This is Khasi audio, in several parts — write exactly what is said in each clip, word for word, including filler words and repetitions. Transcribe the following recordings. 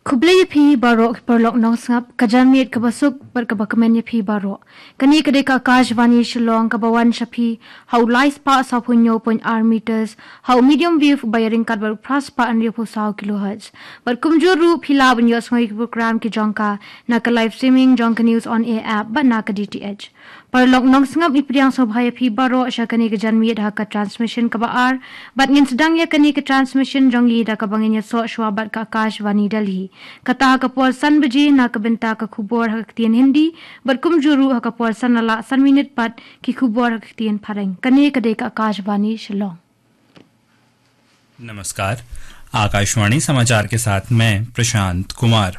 Khublei ïa phi baroh ki paralok nongsngap, ka janmiet kaba suk bad kaba kmen ïa phi baroh. Kane ka dei ka Akashvani Shillong kaba wan sha phi ha u lai spah sawphew hynñiew point ar meters, ha u medium wave ba ïaryngkat bad u phra spah hynriewphew saw kilohertz. Bad kumjuh ruh phi lah ban ïohsngew ïa ki program ki jong ka na ka live streaming jong ka News on Air app bad na ka D T H. Paralok nongsngap, ngi pdiang sngewbha ïa phi baroh sha kane ka janmiet ha ka transmission kaba ar, bad ngin sdang ïa kane ka transmission jong ngi da kaba ngin ïasoh shuwa bad ka Akashvani Delhi. Kata ha ka por san baje na ka bynta ka khubor ha ka ktien Hindi, bad kumjuh ruh ha ka por san la lah san minit pat ki khubor ha ka ktien Phareng. Kane ka dei ka Akashvani Shillong. नमस्कार, आकाशवाणी समाचार के साथ मैं प्रशांत कुमार।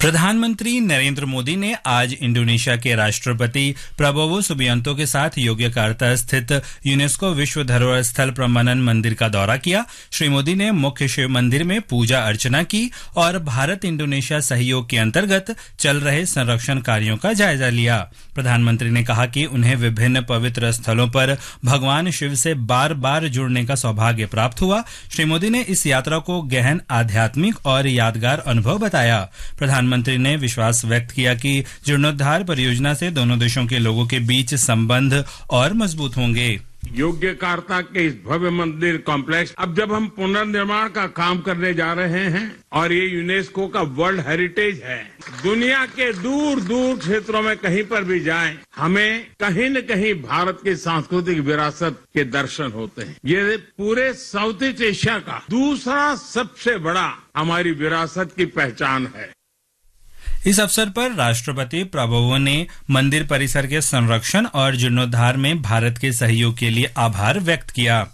प्रधानमंत्री नरेंद्र मोदी ने आज इंडोनेशिया के राष्ट्रपति प्रबोवो सुबियांतो के साथ योग्यकर्ता स्थित यूनेस्को विश्व धरोहर स्थल प्रमाणन मंदिर का दौरा किया। श्री मोदी ने मुख्य शिव मंदिर में पूजा अर्चना की और भारत इंडोनेशिया सहयोग के अंतर्गत चल रहे संरक्षण कार्यों का जायजा लिया। प्रधानमंत्री ने कहा कि उन्हें विभिन्न पवित्र स्थलों पर भगवान शिव से बार-बार जुड़ने का सौभाग्य प्राप्त हुआ। श्री मोदी ने इस यात्रा को गहन आध्यात्मिक और यादगार अनुभव बताया। प्रधानमंत्री ने विश्वास व्यक्त किया कि जीर्णोद्धार परियोजना से दोनों देशों के लोगों के बीच संबंध और मजबूत होंगे। योग्यकार्ता के इस भव्य मंदिर कॉम्प्लेक्स, अब जब हम पुनर्निर्माण का काम करने जा रहे हैं और ये यूनेस्को का वर्ल्ड हेरिटेज है, दुनिया के दूर दूर क्षेत्रों में कहीं पर भी जाएं, हमें कहीं न कहीं भारत की सांस्कृतिक विरासत के दर्शन होते हैं। ये पूरे साउथ ईस्ट एशिया का दूसरा सबसे बड़ा हमारी विरासत की पहचान है। इस अवसर पर राष्ट्रपति प्रबोवो ने मंदिर परिसर के संरक्षण और जीर्णोद्धार में भारत के सहयोग के लिए आभार व्यक्त किया।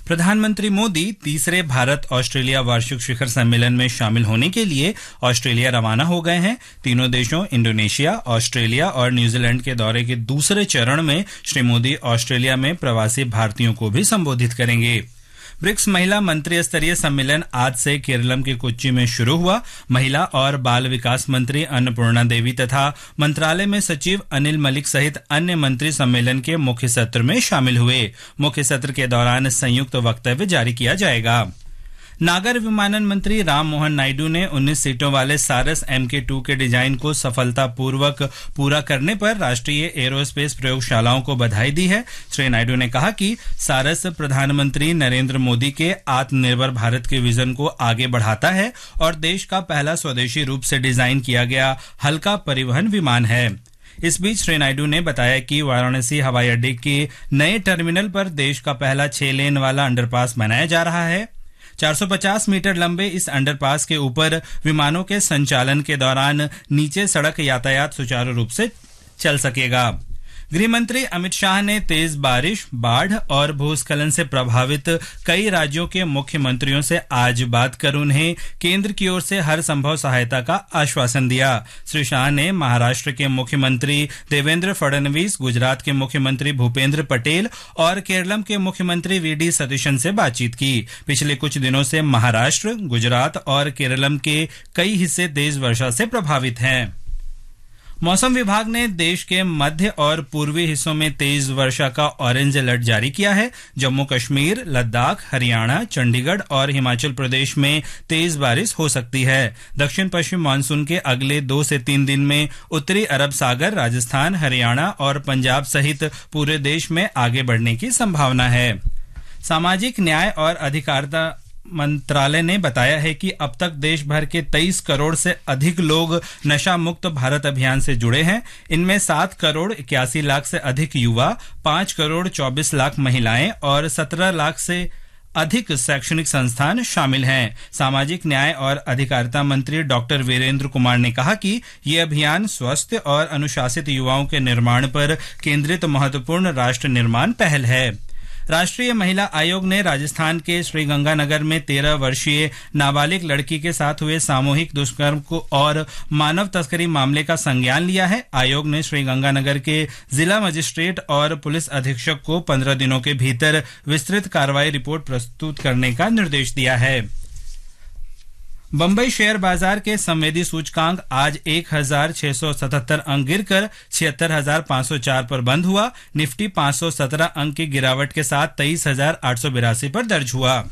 प्रधानमंत्री मोदी तीसरे भारत ऑस्ट्रेलिया वार्षिक शिखर सम्मेलन में शामिल होने के लिए ऑस्ट्रेलिया रवाना हो गए हैं। तीनों देशों इंडोनेशिया, ऑस्ट्रेलिया और न्यूजीलैंड के दौरे के दूसरे चरण में श्री मोदी ऑस्ट्रेलिया में प्रवासी भारतीयों को भी संबोधित करेंगे। ब्रिक्स महिला मंत्री स्तरीय सम्मेलन आज से केरलम के कोच्चि में शुरू हुआ। महिला और बाल विकास मंत्री अन्नपूर्णा देवी तथा मंत्रालय में सचिव अनिल मलिक सहित अन्य मंत्री सम्मेलन के मुख्य सत्र में शामिल हुए। मुख्य सत्र के दौरान संयुक्त वक्तव्य जारी किया जाएगा। नागर विमानन मंत्री राम मोहन नायडू ने उन्नीस सीटों वाले सारस एम के टू के डिजाइन को सफलतापूर्वक पूरा करने पर राष्ट्रीय एरोस्पेस प्रयोगशालाओं को बधाई दी है। श्री नायडू ने कहा कि सारस प्रधानमंत्री नरेंद्र मोदी के आत्मनिर्भर भारत के विजन को आगे बढ़ाता है और देश का पहला स्वदेशी रूप से डिजाइन किया गया हल्का परिवहन विमान है। इस बीच श्री नायडू ने बताया कि वाराणसी हवाई अड्डे के नए टर्मिनल पर देश का पहला छह लेन वाला अंडरपास बनाया जा रहा है। चार सौ पचास मीटर लंबे इस अंडरपास के ऊपर विमानों के संचालन के दौरान नीचे सड़क यातायात सुचारू रूप से चल सकेगा। गृह मंत्री अमित शाह ने तेज बारिश, बाढ़ और भूस्खलन से प्रभावित कई राज्यों के मुख्यमंत्रियों से आज बात कर उन्हें केंद्र की ओर से हर संभव सहायता का आश्वासन दिया। श्री शाह ने महाराष्ट्र के मुख्यमंत्री देवेंद्र फडणवीस, गुजरात के मुख्यमंत्री भूपेंद्र पटेल और केरलम के मुख्यमंत्री वी डी सतीशन से बातचीत की। पिछले कुछ दिनों से महाराष्ट्र, गुजरात और केरलम के कई हिस्से तेज वर्षा से प्रभावित हैं। मौसम विभाग ने देश के मध्य और पूर्वी हिस्सों में तेज वर्षा का ऑरेंज अलर्ट जारी किया है। जम्मू कश्मीर, लद्दाख, हरियाणा, चंडीगढ़ और हिमाचल प्रदेश में तेज बारिश हो सकती है। दक्षिण पश्चिम मानसून के अगले दो से तीन दिन में उत्तरी अरब सागर, राजस्थान, हरियाणा और पंजाब सहित पूरे देश में आगे बढ़ने की संभावना है। सामाजिक न्याय और अधिकारिता मंत्रालय ने बताया है कि अब तक देश भर के तेईस करोड़ से अधिक लोग नशा मुक्त भारत अभियान से जुड़े हैं। इनमें सात करोड़ इक्यासी लाख से अधिक युवा, पाँच करोड़ चौबीस लाख महिलाएं और सत्रह लाख से अधिक शैक्षणिक संस्थान शामिल हैं। सामाजिक न्याय और अधिकारिता मंत्री डॉक्टर वीरेंद्र कुमार ने कहा कि ये अभियान स्वस्थ और अनुशासित युवाओं के निर्माण पर केंद्रित महत्वपूर्ण राष्ट्र निर्माण पहल है। राष्ट्रीय महिला आयोग ने राजस्थान के श्रीगंगानगर में तेरह वर्षीय नाबालिग लड़की के साथ हुए सामूहिक दुष्कर्म को और मानव तस्करी मामले का संज्ञान लिया है। आयोग ने श्रीगंगानगर के जिला मजिस्ट्रेट और पुलिस अधीक्षक को पन्द्रह दिनों के भीतर विस्तृत कार्रवाई रिपोर्ट प्रस्तुत करने का निर्देश दिया है। बंबई शेयर बाजार के संवेदी सूचकांक आज एक हज़ार छह सौ सतहत्तर अंक गिरकर छिहत्तर हज़ार पाँच सौ चार पर बंद हुआ। निफ्टी पाँच सौ सत्रह अंक की गिरावट के साथ तेईस हज़ार आठ सौ बिरासी पर दर्ज हुआ।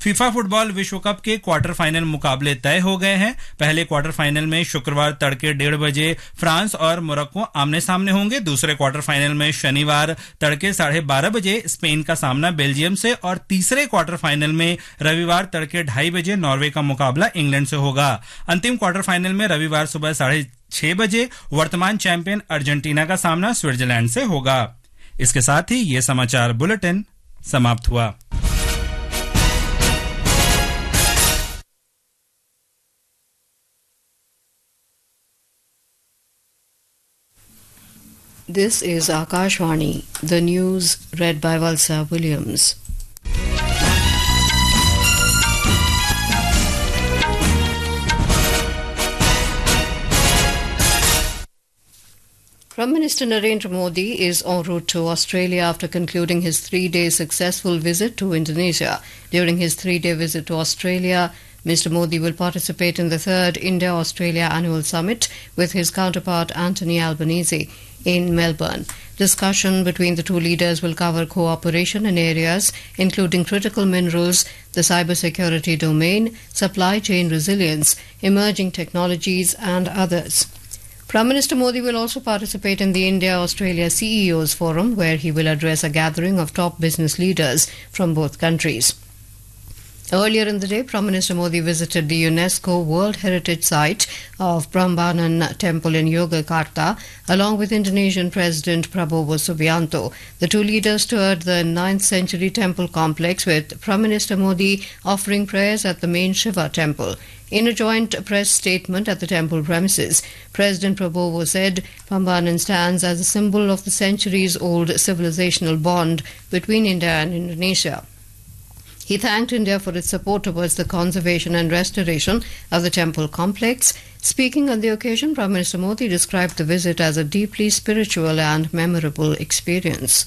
फीफा फुटबॉल विश्व कप के क्वार्टर फाइनल मुकाबले तय हो गए हैं। पहले क्वार्टर फाइनल में शुक्रवार तड़के डेढ़ बजे फ्रांस और मोरक्को आमने सामने होंगे। दूसरे क्वार्टर फाइनल में शनिवार तड़के साढ़े बारह बजे स्पेन का सामना बेल्जियम से और तीसरे क्वार्टर फाइनल में रविवार तड़के ढाई बजे नॉर्वे का मुकाबला इंग्लैंड से होगा। अंतिम क्वार्टर फाइनल में रविवार सुबह साढ़े छह बजे वर्तमान चैंपियन अर्जेंटीना का सामना स्विट्जरलैंड से होगा। इसके साथ ही ये समाचार बुलेटिन समाप्त हुआ। This is Akashvani, the news read by Valsa Williams. Prime Minister Narendra Modi is en route to Australia after concluding his three-day successful visit to Indonesia. During his three-day visit to Australia, Mister Modi will participate in the third India-Australia Annual Summit with his counterpart Anthony Albanese in Melbourne. Discussion between the two leaders will cover cooperation in areas including critical minerals, the cybersecurity domain, supply chain resilience, emerging technologies, and others. Prime Minister Modi will also participate in the India-Australia C E Os Forum, where he will address a gathering of top business leaders from both countries. Earlier in the day, Prime Minister Modi visited the UNESCO World Heritage Site of Prambanan Temple in Yogyakarta, along with Indonesian President Prabowo Subianto. The two leaders toured the ninth century temple complex, with Prime Minister Modi offering prayers at the main Shiva temple. In a joint press statement at the temple premises, President Prabowo said Prambanan stands as a symbol of the centuries-old civilizational bond between India and Indonesia. He thanked India for its support towards the conservation and restoration of the temple complex. Speaking on the occasion, Prime Minister Modi described the visit as a deeply spiritual and memorable experience.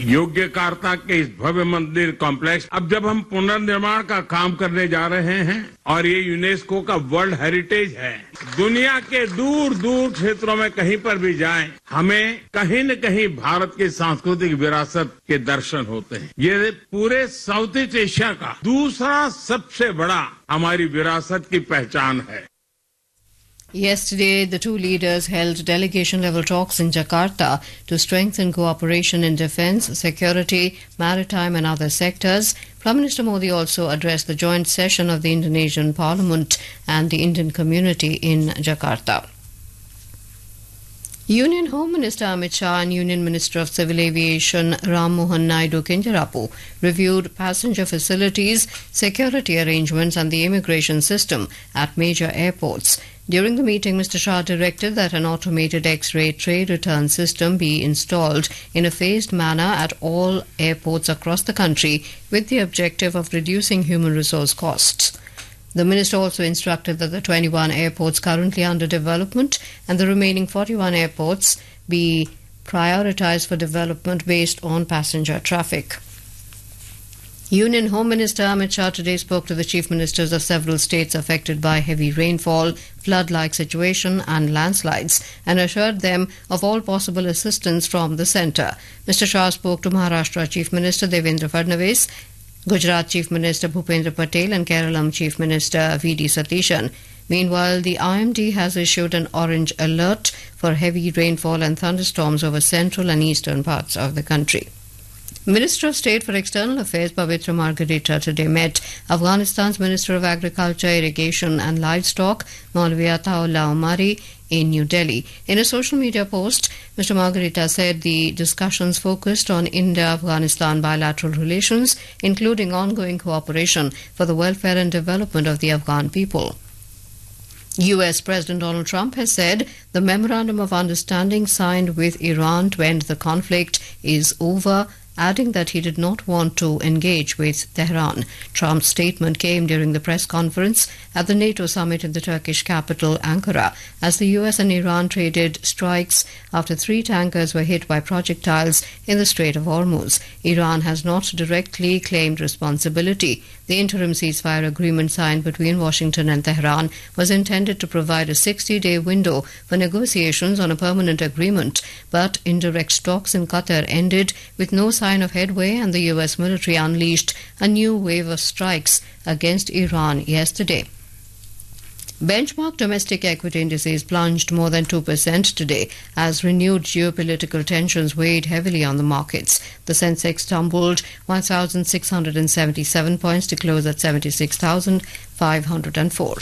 योग्यकार्ता के इस भव्य मंदिर कॉम्प्लेक्स, अब जब हम पुनर्निर्माण का काम करने जा रहे हैं और ये यूनेस्को का वर्ल्ड हेरिटेज है, दुनिया के दूर दूर क्षेत्रों में कहीं पर भी जाएं, हमें कहीं न कहीं भारत की सांस्कृतिक विरासत के दर्शन होते हैं। ये पूरे साउथ ईस्ट एशिया का दूसरा सबसे बड़ा हमारी विरासत की पहचान है। Yesterday, the two leaders held delegation level talks in Jakarta to strengthen cooperation in defense, security, maritime, and other sectors. Prime Minister Modi also addressed the joint session of the Indonesian Parliament and the Indian community in Jakarta. Union Home Minister Amit Shah and Union Minister of Civil Aviation Ram Mohan Naidu Kinjarapu reviewed passenger facilities, security arrangements, and the immigration system at major airports. During the meeting, Mister Shah directed that an automated X-ray tray return system be installed in a phased manner at all airports across the country, with the objective of reducing human resource costs. The minister also instructed that the twenty-one airports currently under development and the remaining forty-one airports be prioritized for development based on passenger traffic. Union Home Minister Amit Shah today spoke to the chief ministers of several states affected by heavy rainfall, flood-like situation and landslides, and assured them of all possible assistance from the centre. Mister Shah spoke to Maharashtra Chief Minister Devendra Fadnavis, Gujarat Chief Minister Bhupendra Patel and Keralam Chief Minister V D Satishan. Meanwhile, the I M D has issued an orange alert for heavy rainfall and thunderstorms over central and eastern parts of the country. Minister of State for External Affairs Pavitra Margherita today met Afghanistan's Minister of Agriculture, Irrigation and Livestock, Maulvi Ataullah Omari, in New Delhi. In a social media post, Mister Margherita said the discussions focused on India-Afghanistan bilateral relations, including ongoing cooperation for the welfare and development of the Afghan people. U S President Donald Trump has said the memorandum of understanding signed with Iran to end the conflict is over adding that he did not want to engage with Tehran. Trump's statement came during the press conference at the NATO summit in the Turkish capital, Ankara, as the U S and Iran traded strikes after three tankers were hit by projectiles in the Strait of Hormuz. Iran has not directly claimed responsibility. The interim ceasefire agreement signed between Washington and Tehran was intended to provide a sixty day window for negotiations on a permanent agreement, but indirect talks in Qatar ended with no sign of headway, and the U S military unleashed a new wave of strikes against Iran yesterday. Benchmark domestic equity indices plunged more than two percent today as renewed geopolitical tensions weighed heavily on the markets. The Sensex tumbled one thousand six hundred seventy-seven points to close at seventy-six thousand five hundred four.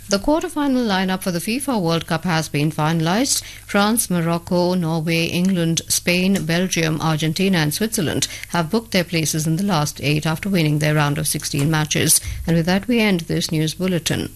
The quarter-final lineup for the FIFA World Cup has been finalized. France, Morocco, Norway, England, Spain, Belgium, Argentina, and Switzerland have booked their places in the last eight after winning their round of sixteen matches. And with that, we end this news bulletin.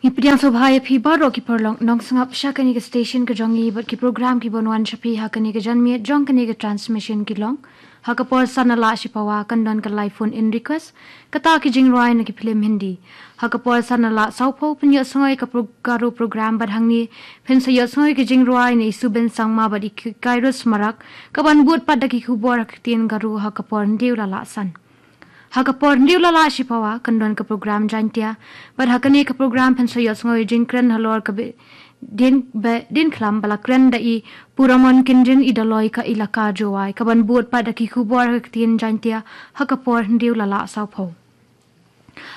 Ngi pdiang sngewbha ïa phi baroh ki paralok nongsngap sha kane ka station ka jong ngi bad ki program kiban wan sha phi ha kane ka janmiet jong kane ka transmission ki long. Ha ka por san na la shi pawa kan don ka live phone in request, kata ki jingrwai na ki phlim Hindi. Ha ka por san na la saw phew pynïohsngew ïa ka pro-, Garo program bad hangne phin sa ïohsngew ïa ki jingrwai na i Suben Sangma bad i Ki-, Kairos Marak, kaban bud pat da ki khubor ha ka ktien Garo ha ka por hynriew la la san. Ha ka por hynriew la la shi pawa kan don ka program Jaintia. Bad ha kane ka program phin sa ïohsngew ïa jingkren halor ka Be-, Dien, Be-, Dien Khlam ba la kren da i Puramon Kynjing, i Daloi ka Elaka Jowai, kaban bud pat da ki khubor ha ka ktien Jaintia ha ka por hynriew la la saw phew.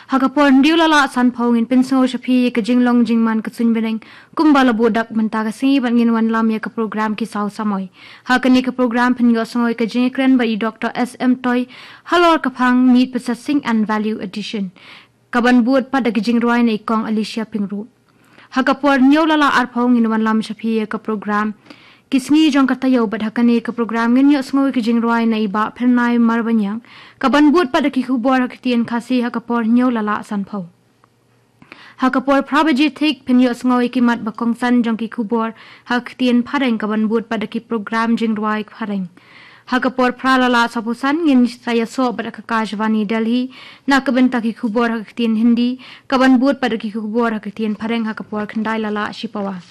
Ha ka por hynriew la la san phew ngin pynsngew sha phi ïa ka jinglong jingman ka suiñ bneng kumba la buh dak mynta ka sngi bad ngin wanlam ïa ka program Ki Saw Samoi. Ha kane ka program phin ïohsngew ïa ka jingkren bad i Doctor S M Toi halor ka phang Meat Processing and Value Addition, kaban bud pat da ki jingrwai na i Kong Alicia Pyngrope. Ha ka por hynñiew la la ar phew ngin wanlam sha phi ïa ka program Ki Sngi Jong Ka Taïew bad ha kane ka program ngin ïohsngew ïa ki jingrwai na i Bah Phyrnai Marbaniang, kaban bud pat da ki khubor ha ka ktien Khasi ha ka por hynñiew la la san phew. Ha ka por phra baje thik phin ïohsngew ïa ki mat ba kongsan jong ki khubor ha ka ktien Phareng, kaban bud pat da ki program jingrwai Phareng. Ha ka por phra la la saw phew san ngin sa ïasoh bad ka Akashvani Delhi na ka bynta ki khubor ha ka ktien Hindi, kaban bud pat da ki khubor ha ka ktien Phareng ha ka por khyndai la la shi pawa.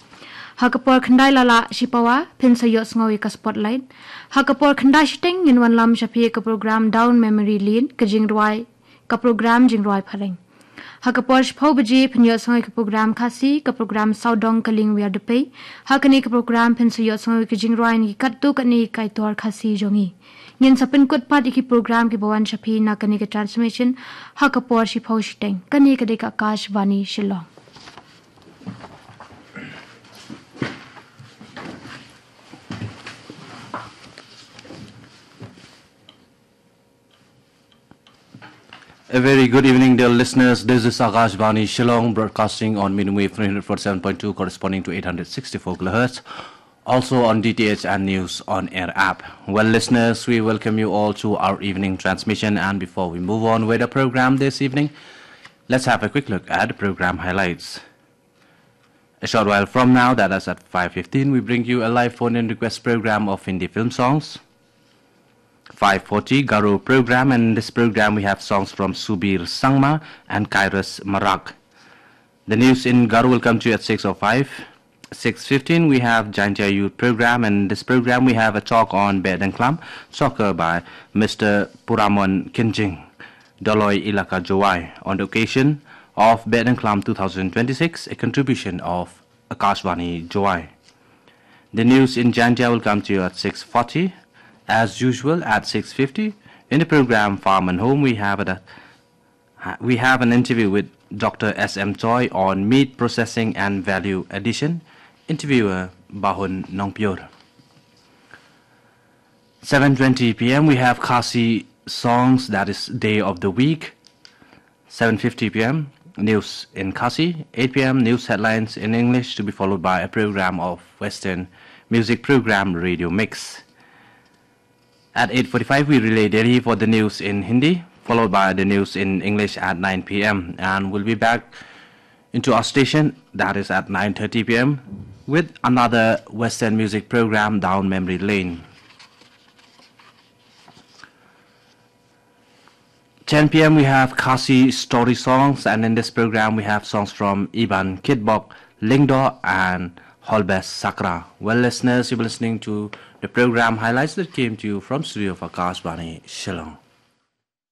Ha ka por khyndai la la shi pawa phin sa ïohsngew ïa ka Spotlight. Ha ka por khyndai shiteng ngin wanlam sha phi ïa ka program Down Memory Lane, ka jingrwai, ka program jingrwai Phareng. Ha ka por shiphew baje phin ïohsngew ïa ka program Khasi, ka program Sawdong Ka Lieng Wiar Dpei. Ha kane ka program phin sa ïohsngew ïa ka jingrwai na ki katto katne ki kaitor Khasi jong ngi. Ngin sa pynkut pat ïa ki program kiba wan sha phi na kane ka transmission ha ka por shiphew shiteng. Kane ka dei ka Akashvani Shillong. A very good evening, dear listeners. This is Akashvani Shillong, broadcasting on medium wave three hundred forty-seven point two, corresponding to eight hundred sixty-four kilohertz. Also on D T H and News on Air app. Well, listeners, we welcome you all to our evening transmission. And before we move on with the program this evening, let's have a quick look at the program highlights. A short while from now, that is at five fifteen, we bring you a live phone-in request program of Hindi film songs. Five forty, Garo program, and in this program we have songs from Subir Sangma and Kairos Marak. The news in Garo will come to you at six oh five. Six fifteen, we have Jaintia Youth program, and in this program we have a talk on Behdengklam, soccer by Mister Puramon Kynjing, Doloi Elaka Jowai, on the occasion of Behdengklam two thousand twenty-six, a contribution of Akashvani Jowai. The news in Jaintia will come to you at six forty. As usual, at six fifty, in the program Farm and Home, we have a, we have an interview with Doctor S M Choi on meat processing and value addition. Interviewer Bahun Nongpyor. Seven twenty P M, we have Khasi songs, that is day of the week. Seven fifty P M, news in Khasi. Eight P M, news headlines in English, to be followed by a program of Western music program, Radio Mix. At eight forty-five, we relay Delhi for the news in Hindi, followed by the news in English at nine P M. And we'll be back into our station, that is at nine thirty P M, with another Western music program down memory lane. ten p m we have Khasi Story Songs, and in this program we have songs from Iban Kitbok, Lyngdoh, and Holbes Sakra. Well, listeners, you've been listening to the program highlights that came to you from studio of Akashvani Shillong.